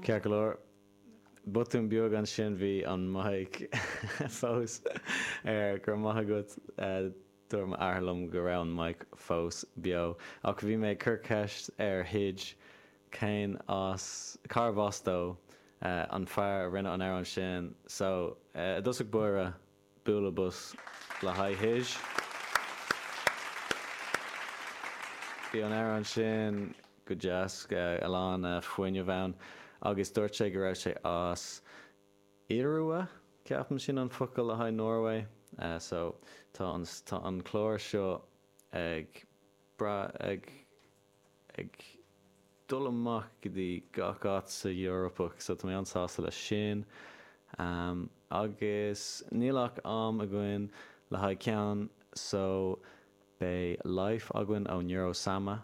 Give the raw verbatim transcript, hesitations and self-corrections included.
Ceart go leor, botún beag ansin bhí an mic fós ar go raibh maith agat dúirt m'athair liom go raibh an mic fós beo ach bhí mé ag cur ceist ar Hidge cén as cárbh as dó an fear a rinne an amhrán sin so i dtosach báire bualadh bos le haghaidh Hidge. Bhí an amhrán sin go deas a lán fuinnimh ann agus dúirt sé go raibh sé as Iorua ceapaim sin an focal le haghaidh Norway so tá an tá an clár seo ag brath ag ag dul amach go dtí gach áit sa Eoraip so tá mé an-sásta leis sin um, agus níl ach am againn le haghaidh ceann so beidh Life againn ó Neuro Sama